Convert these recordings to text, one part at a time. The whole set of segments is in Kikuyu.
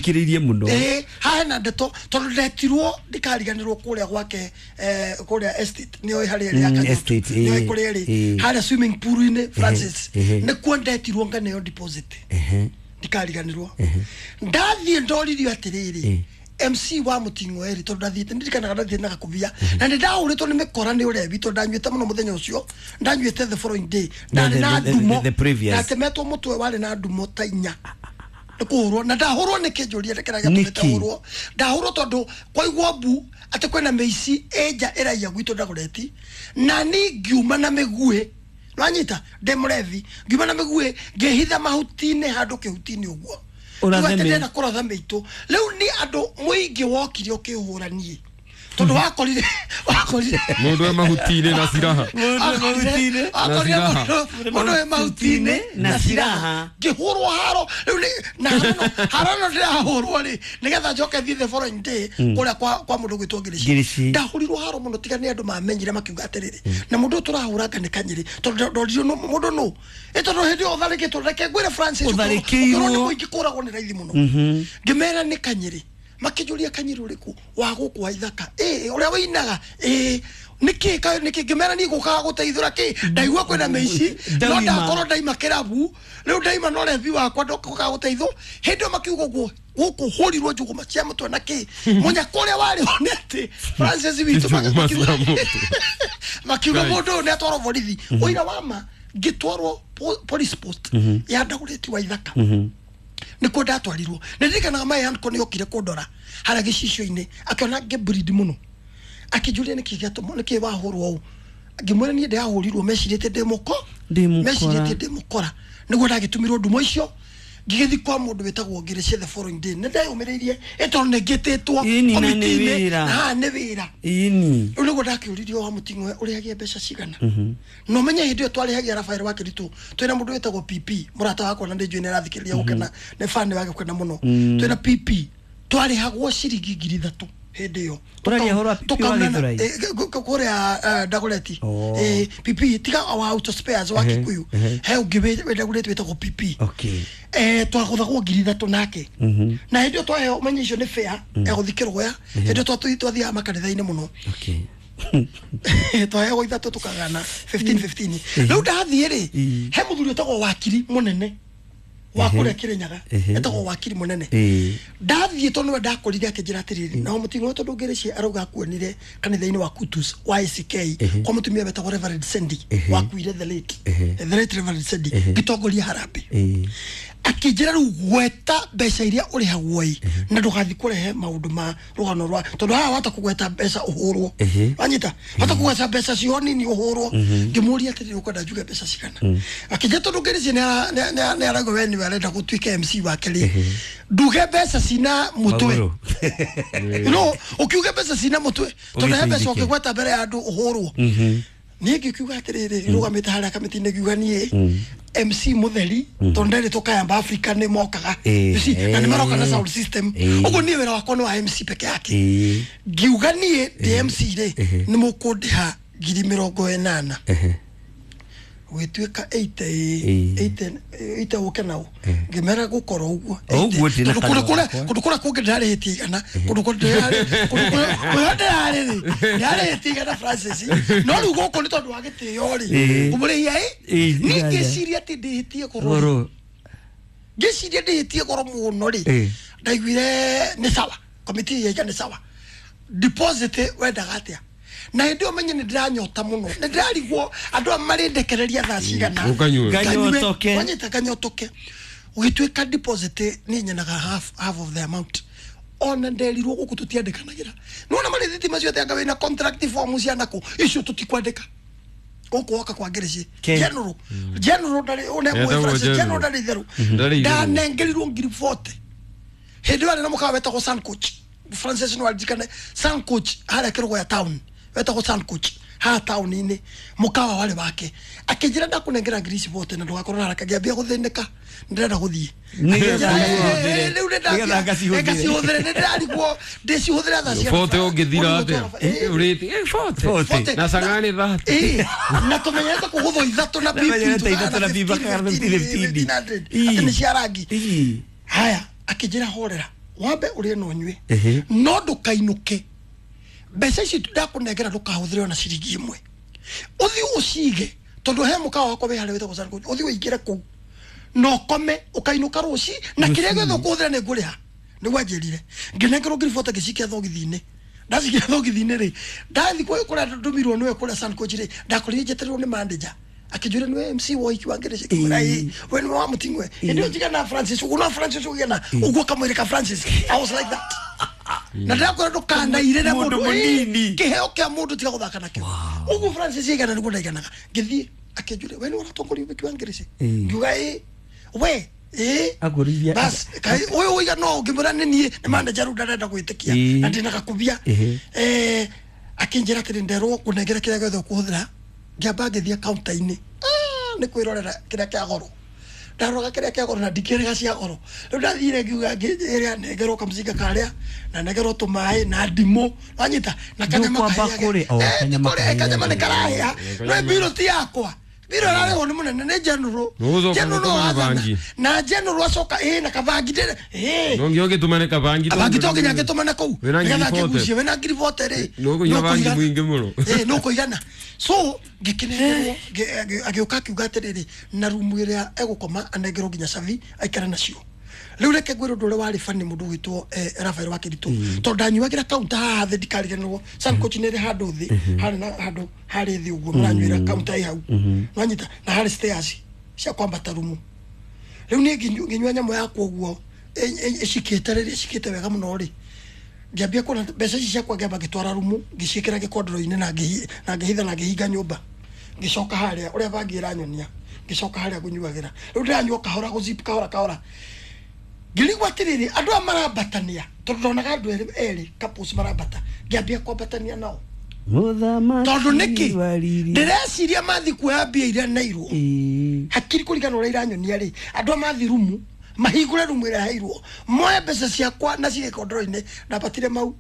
Thikĩrĩirie mũno. Haha hena ndeto tondũ ndetirwo ndikariganĩrwo kũrĩa gwake, kũrĩa estate nĩoĩ harĩa ĩrĩ ya Kanyutu. Estate, nĩoĩ kũrĩa ĩrĩ harĩa swimming pool-inĩ, Francis, nĩkuo ndetirwo nganeo deposit. Ndikariganĩrwo ndathiĩ ndoririo atĩrĩrĩ, MC wa Muting'o eri tondũ ndathiĩte, ndirikanaga ndathiĩte na gakubia na nĩ ndahũrĩtwo nĩ mĩkora nĩ ũrebi tondũ ndanyuĩte mũno mũthenya ũcio, ndanyuĩte the following day, ndarĩ na ndumo. The previous. Ndatemetwo mũtwe warĩ na ndumo ta 4 nĩ kũhũrwo, na ndahũrwo nĩ kĩnjũria kĩrĩa gĩatũmĩte Nĩkĩ? hũrwo. Ndahũrwo tondũ kwaigwo mbu atĩ kwĩna mĩici ĩnja ĩraiya gwitũ Dagoretti, na ni ngiuma na mĩguĩ, nwanyita ndĩ mũrebi, ngiuma na mĩguĩ ngĩhitha mahuti-inĩ handũ kĩhuti-inĩ ũguo. Ũrathe Rĩu atĩ ndĩrenda kũratha mĩitũ. Rĩu nĩ andũ mũingĩ wokire ũkĩhũra niĩ tondũ wakorire Mũndũ e mahuti-inĩ na ciraha. Mũndũ e mahuti-inĩ. Wakorire Na ciraha. mũndũ wĩ mahuti-inĩ na ciraha. Ngĩhũrwo haro rĩu nĩ na haro ĩno ndĩrahũrwo rĩ nĩgetha njoke thiĩ the following day kũrĩa kwa mũndũ gwĩtwo Ngirici. Ngirici. Ndahũrirwo haro mũno tiga nĩ andũ mamenyire makiuga atĩrĩrĩ, na mũndũ ũyũ tũrahũranga nĩ Kanyĩrĩ, tondũ ndoririo mũndũ nũ ĩ tondũ hĩndĩ ĩyo ũtharĩkĩtwo, reke ngwĩre Francis, Ũtharĩkĩirwo. ũkĩrwo nĩ mũingĩ kũragwo nĩ raithi mũno. Ngĩmera nĩ Kanyĩrĩ, makĩnjũria Kanyĩrĩ ũrĩkũ wa gũkũ wa ithaka ĩ ũrĩa wĩinaga ĩ nĩkĩ nĩkĩ. Ngĩmera niĩ gũkaga gũteithũra kĩ ndaigua kwĩna mĩici no Ndauma. Ndakorwo ndaima kĩrabu rĩu ndaima no rebi wakwa ndokaga gũteithũ. Hĩndĩ ĩyo makiuga ũguo gũkũ hũrirwo njũgũma cia mũtwe na kĩ mũnyaka ũrĩa warĩ ho nĩ atĩ Francis witũ Njũgũma cia mũtwe. Makiuga Right. mũndũ ũyũ nĩ atwarwo borithi. Ũira wa ma ngĩtwarwo police post ya Dagoretti wa Ithaka nĩkuo ndatwarirwo. Nĩ ndirikanaga my uncle nĩ okire kũndora harĩa gĩcicio-inĩ, akĩona ngĩbleed mũno, akĩnjũria nĩkĩ gĩatũma nĩkĩ wahũrwo ũũ. Ngĩmwĩra niĩ ndĩrahũrirwo mecirĩtie ndĩ mũko Ndĩ mũkora. Mecirĩtie ndĩ mũkora nĩguo ndagĩtũmirwo ndumo icio. Ngĩgĩthiĩ kwa mũndũ wĩtagwo Ngirici the following day. Nĩ ndeyũmĩrĩirie ĩ tondũ nĩ ngĩtĩtwo Ĩni, na nĩ komiti-inĩ, wĩra. na haha nĩ wĩra. Ĩni. Rĩu nĩguo ndakĩũririo wa Mũting'oe ũrĩhagia mbeca cigana, na ũmenye hĩndĩ ĩyo twarĩhagia Rafael wa Kĩritũ twĩna mũndũ wĩtagwo PP, mũrata wakwa, na ndĩnjũĩ nĩ arathikĩrĩria gũkena, nĩ fan wa gũkena mũno. Twĩna PP twarĩhagwo ciringi 3,000 hĩndĩ ĩyo. Ũraria ũhoro wa PP wa Tũkaunana- Gĩthũrai? Kũrĩa Dagoretti. Oh. PP tiga wa auto spares wa Kikuyu, he ũngĩ wĩ Dagoretti wĩtagwo PP. Twagũthagwo 3,000 nake, na hĩndĩ ĩyo twaheo ũmenye icio nĩ fair egũthiĩ Kĩrũgũya. Hĩndĩ ĩyo twathiaga makanitha-inĩ mũno. Twaheagwo 3 tukagana 15 15. Rĩu ndathiĩ rĩ, he mũthuri wĩtagwo wakiri mũnene wa kũrĩa Kĩrĩnyaga, etagwo wakiri mũnene. Ndathiĩ tondũ nĩwe ndakorire, akĩnjĩra atĩrĩrĩ, na Mũting'o tondũ Ngĩrĩci arauga akuonire kanitha-inĩ wa Kutus wa ACK kwa mũtumia wetagwo Reverend Sendi wakuire, the late Reverend Sendi, ngĩtongoria harambĩ. Akĩnjĩra rĩu gweta mbeca iria ũrĩhagwo ĩ na ndũgathiĩ kũrehe maũndũ ma rũgano rwa tondũ haha wata kũgweta mbeca ũhũrwo. Wanyita wata kũgweta mbeca cio nini ũhũrwo. Ngĩmũria atĩrĩrĩ, ũkwenda njuge mbeca cigana? Akĩnjĩra tondũ Ngĩrĩci nĩ arauga we nĩwe arenda gũtuĩka MC wake rĩ, nduge mbeca cina mũtwe. Magũrũ. No ũkiuge mbeca cina mũtwe tondũ he mbeca Ũgĩteithĩke. ũkĩgweta mbere ya andũ ũhũrwo. Niĩ ngĩkiuga atĩrĩrĩ, rũgamĩte harĩa kamĩtĩ-inĩ, ngiuga niĩ MC mũtheri tondũ nderĩtwo Kayamba Africa nĩ mokaga. You see, na nĩ maroka na sound system. Ũguo niĩ wĩra wakwa nĩ wa MC peke yake. Ngiuga niĩ ndĩ MC rĩ, nĩ mũkũndĩha 80,000. Gwĩtuĩka 80. 80 80 ũke nao ngĩmera gũkorwo ũguo. Ũguo ndĩ na Tondũ kanua kũndũ kũrĩa gakwa. Kũndũ kũrĩa kũngĩ ndĩrarĩhĩtie 100, kũndũ kũrĩa ndĩrarĩ kũndũ kũrĩa ndĩrarĩ rĩ ndĩrarĩhĩtie 100, Francis, no rĩu gũkũ nĩ tondũ wa gĩtĩo rĩ, ngũmũrĩhia ĩ niĩ 100. Ngĩciria atĩ ndĩhĩtie goro rĩ. Goro. Ngĩciria ndĩhĩtie goro mũno rĩ, ndaiguire nĩ sawa, komiti yaiga nĩ sawa. Deposit wendaga atĩa? Na hĩndĩ ĩyo menye nĩ ndĩranyota mũno, nĩ ndĩrarigwo andũ aya marĩndekereria thaa cigana. Ũkanyue. Nganyotoke. Wanyita kanyotoke. Ũgĩtuĩka deposit nĩ nyenaga half of the amount, ona nderirwo gũkũ tũtiandĩkanagĩra nĩwona marĩthiti macio atĩ anga wĩna contract form cia nakũ icio tũtikwandĩka gũkũ woka kwa Ngirici. General ndarĩ une Etagwo Francis General. General ndarĩ itherũ. Ndarĩ itherũ. Ndanengerirwo 40,000. Hĩndĩ ĩyo arĩ na mũkawa wetagwo Sun Coach, Francis, no aririkane Sun Coach harĩa Kĩrũgũya town, wetagwo Sun Coach haha taũni-inĩ, mũkawa warĩ wake. Akĩnjĩra ndakũnengera ngiri ici bote na ndũgakorwo na haraka. Ngĩambia gũthĩnĩka, ndĩrenda gũthiĩ. Nĩgetha Akĩnjĩra, ũcihũthĩre. "Eh, rĩu nĩ Nĩgetha ngacihũthĩre." Ngacihũthĩre, nĩ ndĩrarigwo ndĩcihũthĩre thaa cigana. 40 ũngĩthira atĩa? Ũrĩti 40. 40. Na cang'ani 30. Na tũmenyerete kũgũthwo 3 na pipi. Tũmenyerete 3 na pipi, bakagana 15, 15. 1500 atĩ nĩ cia rangi. Haya, akĩnjĩra horera. Wambe ũrĩe na ũnyue no ndũkainũke mbeca ici ndakũnengera ndũkahũthĩre ona ciringi ĩmwe ũthiĩ ũcige tondũ he mũkawa wakwa wĩ harĩa wĩtagwo Sanko ũthiĩ ũingĩre kũu na ũkome ũkainũka rũci na kĩrĩa gĩothe ũkũhũthĩra nĩ ngũrĩha nĩguo anjĩrire ngĩnengerwo ngiri 40 ngĩcikia thogithi-inĩ ndacikia thogithi-inĩ rĩ ndathiĩ kũrĩa ndũmirwo nĩwe kũrĩa Sankoch rĩ ndakorire njetereirwo nĩ manager akĩnjũria nĩwe MC wa ũhiki wa Ngĩrĩci ngĩmwĩra ĩĩ we nĩwe wa Mũting'we hĩndĩ ĩyo njigana Francis ũguo no Francis ũgĩana ũguo kamwĩrĩ ka Francis I was like that na ndĩrakwĩra ndũkanairĩre Mũndũ mũnini. kĩheo kĩa mũndũ tiga gũthaka nakĩo ũguo Francis aigana nĩguo ndaiganaga ngĩthiĩ akĩnjũria we nĩwe ũratongoria ũhiki wa Ngĩrĩci ngiuga ĩĩ we ĩĩ Akũrithia- bas kai ũyũ ũiga no ngĩmwĩra nĩ niĩ nĩ manager rĩu ndarenda gwĩtĩkia Ĩĩ. na ndĩna gakubia akĩnjĩra atĩrĩ nderwo ngũnengere kĩrĩa gĩothe ũkũhũthĩra ngĩamba ngĩthiĩ counter-inĩ nĩ kwĩrorera kĩrĩa kĩa goro ndaroraga kĩrĩa kĩa goro na ndikĩrĩga cia goro rĩu ndathire ngiuga ngĩrĩa nengerwo kamcinga karĩa na nengerwo tũmaĩ na ndimũ wanyita na kanyama Ndũkwamba kahĩage. kũrĩa- o, kanyama kanyama nĩ kahĩage. karahĩa no mbiro ti yakwa mbiro ĩrarĩhwo nĩ mũnene nĩ general Nũgũcoka general gũtũma athana. bangi. Na general acoka ĩ na kabangi ndĩrĩ ĩ No nginya ũgĩtũmane kabangi abangi to nginya ngĩtũmane kũu Wĩna ngiri nĩgetha 40. ngĩgucie wĩna ngiri 40 rĩ Nũkũnyua bangi nũkũigana. mũingĩ mũno. Ĩ, nũkũigana so ngĩkĩnengerwo agĩũka akiuga atĩrĩrĩ na rumu ĩrĩa egũkoma anengerwo nginya cabi aikare nacio rĩu reke ngwĩre ũndũ ũrĩa warĩ bani mũndũ ũgwĩtwo Rafael wa Kĩritũ tondũ ndanyuagĩra counter haha thĩ ndikariganĩrwo Sankoch nĩ ĩrĩ handũ thĩ harĩ na handũ harĩ thĩ ũguo mũranyuĩra counter ĩ hau nwanyita na harĩ stairs cia kwambata rumu rĩu niĩ ngĩnyua nyamũ yakwa ũguo ĩcikĩte rĩrĩ ĩcikĩte wega mũno rĩ ngĩambia kuona mbeca ici ciakwa ngĩamba ngĩtwara rumu ngĩciĩkĩra gĩkondoro-inĩ na ngĩhitha na ngĩhinga nyũmba ngĩcoka harĩa ũrĩa bangi ĩranyonia ngĩcoka harĩa ngũnyuagĩra rĩu ndĩranyua kahora gũzip kahora kahora ngĩrigwo atĩrĩrĩ andũ aya marambatania tondũ ndonaga andũ erĩ couples marambata ngĩambia kwambatania nao Mũthamaki tondũ nĩkĩ wa riri. ndĩreciria mathi kuoya mbia iria neirwo Ĩĩ. hakiri kũringana ũrĩa iranyonia rĩ andũ a mathi rumu mahingũre rumu ĩrĩa heirwo moe mbeca ciakwa na cige kondoro-inĩ ndambatire mau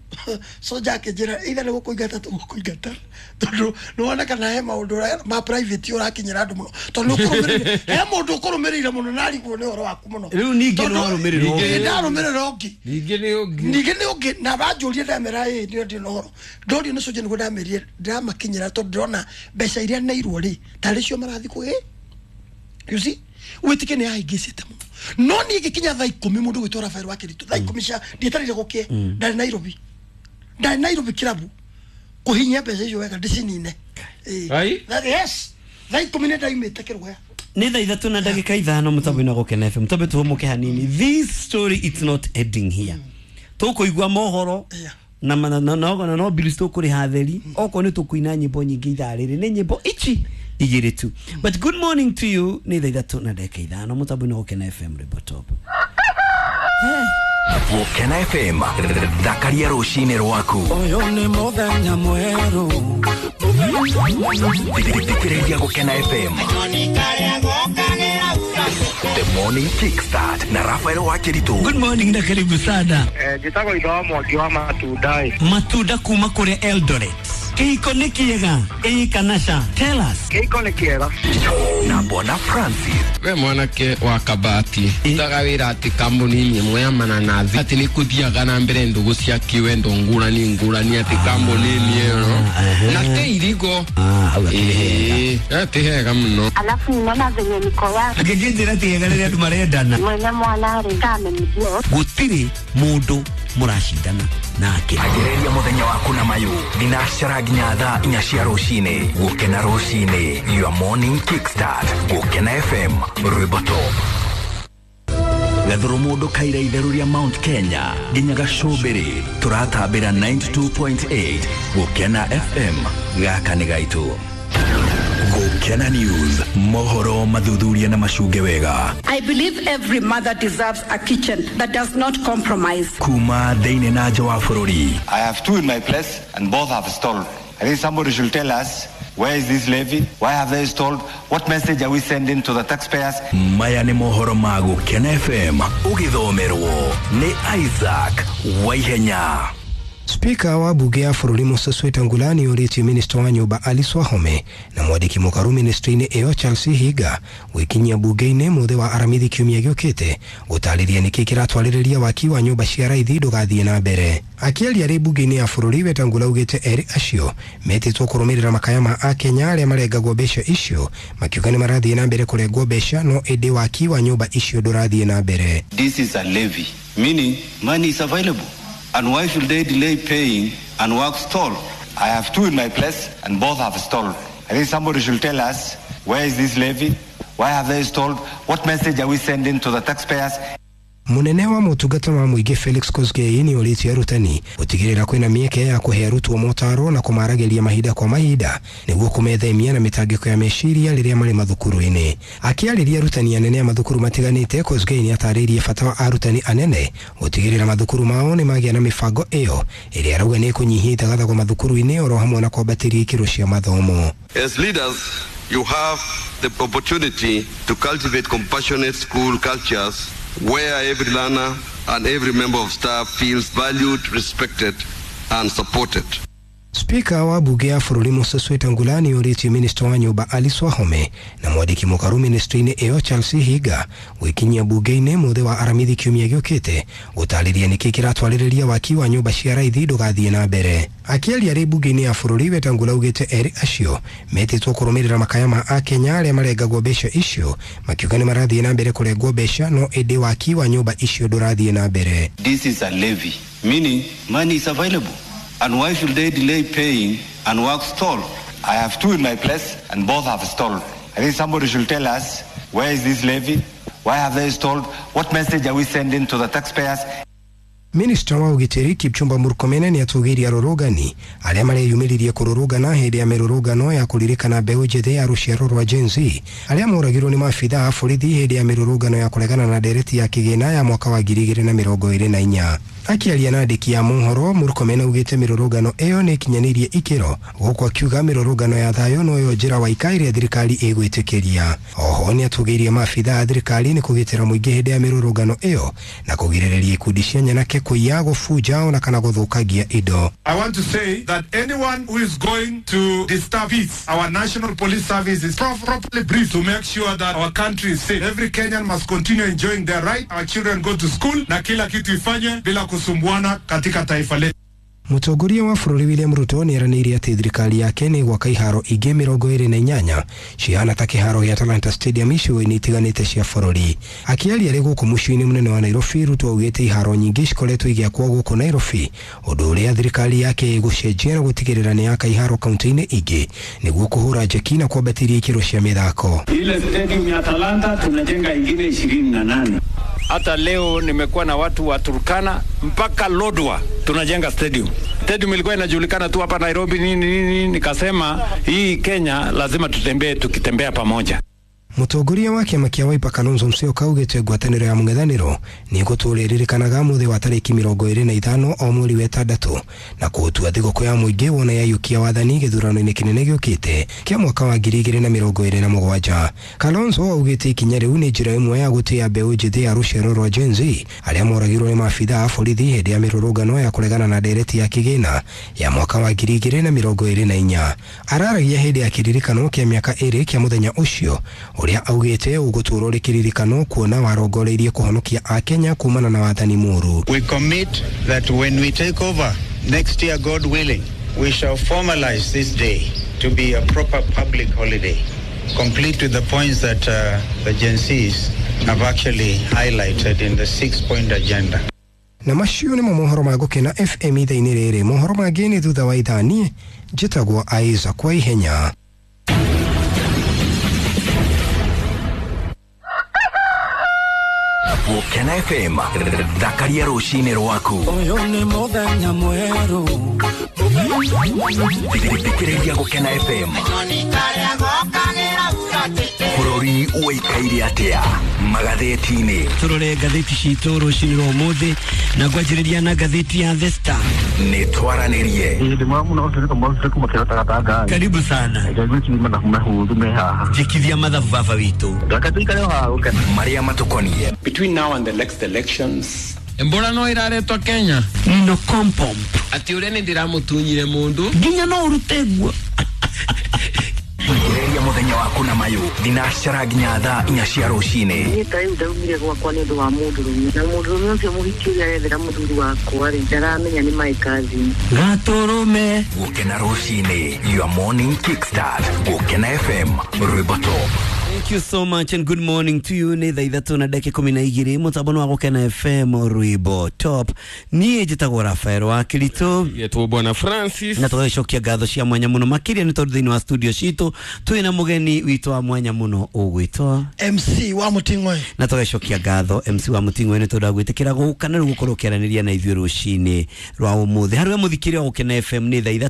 soja akĩnjĩra either nĩ gũkũingata tũgũkũingata tondũ nĩwona kana he maũndũ ma private ũrakinyĩra andũ mũno tondũ nĩũkũrũmĩrĩire he mũndũ ũkũrũmĩrĩire mũno na arigwo nĩ ũhoro waku mũno Rĩu ningĩ Tondũ- nĩwarũmĩrĩrwo ũngĩ. Ĩĩ, ndarũmĩrĩra ũngĩ Ningĩ nĩ ũngĩ. ningĩ nĩ ũngĩ na banjũrie ndamera ĩ nĩ ndĩ na ũhoro ndorio nĩ soja nĩguo ndamerire ndĩramakinyĩra tondũ ndĩrona mbeca iria neirwo rĩ tarĩ cio marathiĩ kũgĩ you see wĩtĩkie nĩ yahĩngĩcĩte mũno no niĩ ngĩkinya thaa ikũmi mũndũ gwĩtwo Rafael wa Kĩritũ thaa ikũmi cia ndietereire gũkĩe ndarĩ Nairobi ndarĩ Nairobi kĩrabu kũhinyia mbeca icio wega ndĩcinine Ĩĩ. Ai? Yes thaa ikũmi nĩ ndaimĩte kĩrũgaya nĩ thaa 3 na ndagĩka 5 mũtambo-inĩ wa Gũkena FM tambe tũhũmũke hanini this story it's not ending here tũkũigua mohoro Yeah. na no bills tũkũrĩha theri okorwo nĩ tũkũina nyĩmbo nyingĩ ithaa rĩrĩ nĩ nyĩmbo ici igĩrĩ tu but good morning to you nĩ thaa 3 na ndagĩka 5 mũtambo-inĩ wa Gũkena FM rwĩmbo top Gũkena FM thakaria rũcinĩ rwaku Ũyũ nĩ mũthenya mwerũ thikĩrĩria Gũkena FM The Morning Kickstart na Rafael wa Kĩritũ good morning na karibu sana njĩtagwo itho wa mwangi wa matunda ĩ matunda kuma kũrĩa Eldoret kĩhiko nĩ kĩega ĩĩ kana ca tell us kĩhiko nĩ kĩega na Bwana Francis We mwanake wa kabati utaga wĩra atĩ kambuni-inĩ ĩmwe ya mananathi atĩ nĩ kũthiaga na mbere ndũgũ cia kĩwendo ngũrani ngũrani atĩ kambuni-inĩ ĩyo na te irigo hau akĩrĩ hega Ĩĩ, ti hega mũno Alafu ninaona venye niko yake angĩkĩnjĩra ti hega rĩrĩa andũ marendana mwenye mwana rĩ kamenijua gũtirĩ mũndũ mũracindana nake Ambĩrĩria mũthenya waku na mayũ thinacara nginya thaa 4 cia rũcinĩ Gũkena rũcinĩ your morning kickstart Gũkena FM rwĩmbo top gathũrũ mũndũ kaira itherũ rĩa Mount Kenya nginya gacũmbĩrĩ tũratambĩra 92.8 Gũkena FM gaka nĩ gaitũ Gũkena News mohoro mathuthuria na macunge wega I believe every mother deserves a kitchen that does not compromise. kuma thĩinĩ na nja wa bũrũri I have two in my place and both have stalled. I think somebody should tell us where is this levy? Why have they stalled? What message are we sending to the taxpayers? Maya nĩ mohoro ma Gũkena FM ũgĩthomerwo nĩ Isaac Waihenya. Spika wa bunge ya bũrũri Moses Wetangula nĩ ũrĩtie minista wa nyũmba Alice Wahome na mwandĩki mũkaru ministry-inĩ ĩyo Charles Higa gwĩkinyia bunge-inĩ mũthĩ wa aramithi kiumia gĩũkĩte gũtarĩria nĩkĩ kĩratwarĩrĩria waki wa nyũmba cia raithi ndũgathiĩ na mbere. Akĩaria arĩ bunge-inĩ ya bũrũri Wetangula augĩte erĩ acio metĩtwo kũrũmĩrĩra makaya ma akenya arĩa marengagwo mbeca icio makiuga nĩ marathiĩ na mbere kũrengwo mbeca no ĩndĩ waki wa nyũmba icio ndũrathiĩ na mbere. This is a levy, meaning money is available. And why should they delay paying and work stall? I have two in my place and both have stalled. I think somebody should tell us, where is this levy? Why have they stalled? What message are we sending to the taxpayers? Munene wa motungata ma mũingĩ Felix Kosgei nĩ ũrĩtie arutani gũtigĩrĩra kwĩna mĩeke ya kũhe arutwo motaro na kũmaragĩria mahinda kwa mahinda nĩguo kũmethemia na mĩtangĩko ya meciria rĩrĩa marĩ mathukuru-inĩ. Akĩarĩria arutani anene a mathukuru matiganĩte, Kosgei nĩ atarĩirie bata wa arutani anene gũtigĩrĩra mathukuru mao nĩ magĩa na mĩbango ĩyo ĩrĩa arauga nĩ ĩkũnyihia ithagathagwo mathukuru-inĩ oro hamwe na kwambatĩria ikĩro cia mathomo. As leaders, you have the opportunity to cultivate compassionate school cultures where every learner and every member of staff feels valued, respected, and supported. Spika wa bunge ya bũrũri Moses Wetangula nĩ ũrĩtie minista wa nyũmba Alice Wahome na mwandĩki mũkaru ministry-inĩ ĩyo Charles Higa gwĩkinyia bunge-inĩ mũthĩ wa aramithi kiumia gĩũkĩte gũtarĩria nĩkĩ kĩratwarĩrĩria waki wa nyũmba cia raithi ndũgathiĩ na mbere. Akĩaria arĩ bunge-inĩ ya bũrũri Wetangula augĩte erĩ acio metĩtwo kũrũmĩrĩra makaya ma akenya arĩa marengagwo mbeca icio makiuga nĩ marathiĩ na mbere kũrengwo mbeca no ĩndĩ waki wa nyũmba icio ndũrathiĩ na mbere. This is a levy, meaning money is available. And why should they delay paying and work stall? I have two in my place and both have stalled. I think somebody should tell us, where is this levy? Why have they stalled? What message are we sending to the taxpayers? Minista wa ũgitĩri Kipchumba Murkomen nĩ atũgĩirie arũrũngani arĩa mareyumĩririe kũrũrũngana hĩndĩ ya mĩrũrũngano ya kũririkana mbeũ njĩthĩ ya rũciaro rwa Gen Z arĩa moragirwo nĩ maabithaa a borithi hĩndĩ ya mĩrũrũngano ya kũregana na ndereti ya kĩgĩna ya mwaka wa 2024. Akĩaria na andĩki a mohoro, Murkomen augĩte mĩrũrũngano ĩyo nĩ ĩkinyanĩirie ikĩro gũkũ akiuga mĩrũrũngano ya thayũ noyo njĩra waika ĩrĩa thirikari ĩgwĩtĩkĩria. Oho nĩ atũgĩirie maabithaa a thirikari nĩ kũgitĩra mũingĩ hĩndĩ ya mĩrũrũngano ĩyo na kũgirĩrĩria ikundi cia nyanake kũiya, gũbunja ona kana gũthũkangia indo. I want to say that anyone who is going to disturb peace, our National Police Service is properly briefed to make sure that our country is safe. Every Kenyan must continue enjoying their right. Our children go to school na kila kitu ifanywe bila kusumbuana katika taifa letu. Mũtongoria wa bũrũri William Ruto nĩ eranĩire atĩ thirikari yake nĩ gwaka iharo ingĩ 28 cihana ta kĩharo gĩa Talanta Stadium icigo-inĩ itiganĩte cia bũrũri. Akĩaria arĩ gũkũ mũciĩ-inĩ mũnene wa Nairobi, Ruto augĩte iharo nyingĩ cikoretwo igĩakwo gũkũ Nairobi, ũndũ ũrĩa thirikari yake ĩgũcenjia na gũtigĩrĩra nĩ yaka iharo kaunti-inĩ ingĩ nĩguo kũhũra njeki na kwambatĩria ikĩro cia mĩthako. Ile stadium ya Talanta tunajenga ingine 28. Hata leo nimekuwa na watu wa Turkana mpaka Lodwar tunajenga stadium. Stadium ilikuwa inajulikana tu hapa Nairobi nini nini, nikasema hii Kenya lazima tutembee tukitembea pamoja. Mũtongoria wa kĩama kĩa Wiper Kalonzo Musyoka augĩte ngwatanĩro ya mũng'ethanĩro nĩ ĩgũtũũra ĩririkanaga mũthĩ wa tarĩki 25 o mweri wa ĩtandatũ na kũũtua thigũkũ ya mũingĩ wona yaiyũkia wathani gĩthurano-inĩ kĩnene gĩũkĩte kĩa mwaka wa 2027. Kalonzo augĩte ikinya rĩu nĩ njĩra ĩmwe ya gũtĩĩa mbeũ njĩthĩ ya rũciaro rwa Gen Z arĩa moragirwo nĩ maabithaa a borithi hĩndĩ ya mĩrũrũngano ya kũregana na ndereti ya kĩgĩna ya mwaka wa 2024. Araragia hĩndĩ ya kĩririkano kĩa mĩaka 2 kĩa mũthenya ũcio ũrĩa augĩte ũgũtũũra ũrĩ kĩririkano kuona warongoreirie kũhonokia akenya kumana na wathani mũũru. We commit that when we take over next year, God willing, we shall formalize this day to be a proper public holiday, complete with the points that the Gen Zs have actually highlighted in the 6-point agenda. Na macio nĩmo mohoro ma Gũkena FM ithaa-inĩ rĩrĩ. Mohoro mangĩ nĩ thutha wa ithaa. Niĩ njĩtagwo Isaac kwa ihenya. Gũkena FM, thakaria rũcinĩ rwaku. Ũyũ nĩ mũthenya mwerũ. Thikĩrĩria Gũkena FM. Bũrũri ũikaire atĩa magathĩti-inĩ? Tũrore ngathĩti citũ rũcinĩ rwa ũmũthĩ na ngwanjĩrĩria na ngathĩti ya The Star. Nĩ twaranĩrie. Karibu sana. Jikithia mathabu baba witũ. Marĩa matukoniĩ. Between now and the next elections, Mbura no iraretwo Kenya. No kompomp. Atĩ ũrĩa nĩ ndĩramũtunyire mũndũ nginya no ũrute guo. Ambĩrĩria mũthenya waku na mayũ thinacara nginya thaa 4 cia rũcinĩ. Niĩ ta rĩu ndaumire gwakwa nĩ ũndũ wa mũndũrũme, na mũndũrũme ũcio mũhiki ũrĩa arethera mũthuri wakwa rĩ, ndaramenya nĩ my cousin. Gatũrũme. Gũkena rũcinĩ, your morning kickstart. Gũkena FM, rwĩmbo top. Thank you so much and good morning to you. Nĩ thaa 3:12 mũtambo wa Gũkena FM rwĩmbo top. Niĩ njĩtagwo Rafael wa Kiritũ Getwo Bwana Francis na tũgagĩcokia ngatho cia mwanya mũno makĩria nĩ tondũ thĩinĩ wa studio citũ twĩna mũgeni witũ wa mwanya mũno ũgwĩtwo MC wa Muting'oe. Na tũgagĩcokia ngatho MC wa Muting'oe nĩ tondũ wa gwĩtĩkĩra gũka na rĩu gũkorwo ũkĩaranĩria na ithuĩ rũcinĩ rwa ũmũthĩ. Harĩ we mũthikĩria wa Gũkena FM nĩ thaa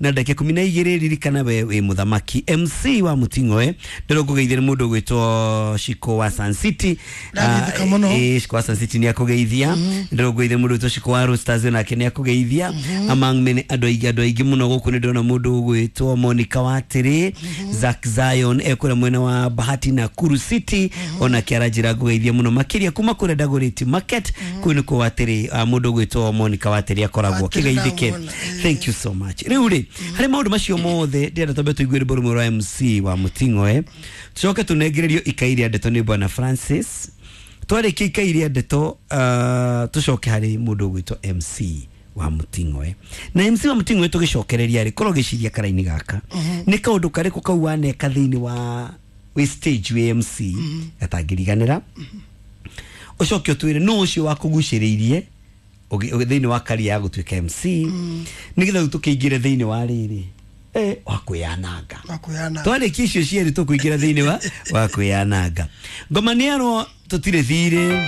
3:12. Ririkana we wĩ mũthamaki MC wa Muting'oe. Ndĩrwo ngũgeithia nĩ mũndũ ũgwĩtwo Shiko wa Sun City. Ndageithĩka mũno. Shiko wa Sun City nĩ akũgeithia. Ndĩrwo ngũgeithia mũndũ ũgwĩtwo Shiko wa Roasters nake nĩ akũgeithia. Among many andũ aingĩ, andũ aingĩ mũno gũkũ nĩ ndĩrona mũndũ ũgwĩtwo Monica Watĩrĩ, Zack Zion ekũrĩa mwena wa Bahati na Kuru City, onake aranjĩra ngũgeithia mũno makĩria kuma kũrĩa Dagoretti Market. Kũu nĩkuo Watĩrĩ, mũndũ ũgwĩtwo Monica Watĩrĩ akoragwo Watĩrĩ kĩgeithĩke. ndamwona, Thank you so much. Rĩu rĩ, harĩ maũndũ macio mothe ndĩrenda twambe tũigue rwĩmbo rũmwe rwa MC wa Muting'oe, tucoke tũnengererio ikai rĩa ndeto nĩ Bwana Francis. Twarĩkia ikai rĩa ndeto, tũcoke harĩ mũndũ ũgwĩtwo MC wa Muting'oe. Na MC wa Muting'oe tũgĩcokereria rĩ, korwo ũgĩciria karaini gaka nĩ kaũndũ karĩkũ kau waneka thĩinĩ wa wĩ stage wĩ MC gatangĩriganĩra, ũcoke ũtwĩre nũ ũcio wakũgucĩrĩirie thĩinĩ wa career ya gũtuĩka MC, nĩgetha rĩu tũkĩingĩre thĩinĩ wa rĩrĩ wa kwĩyananga. Wakwĩyananga. Twarĩkia icio cierĩ tũkũingĩra thĩinĩ wa kwĩyananga. Ngoma nĩ arwo tũtirĩ thirĩ.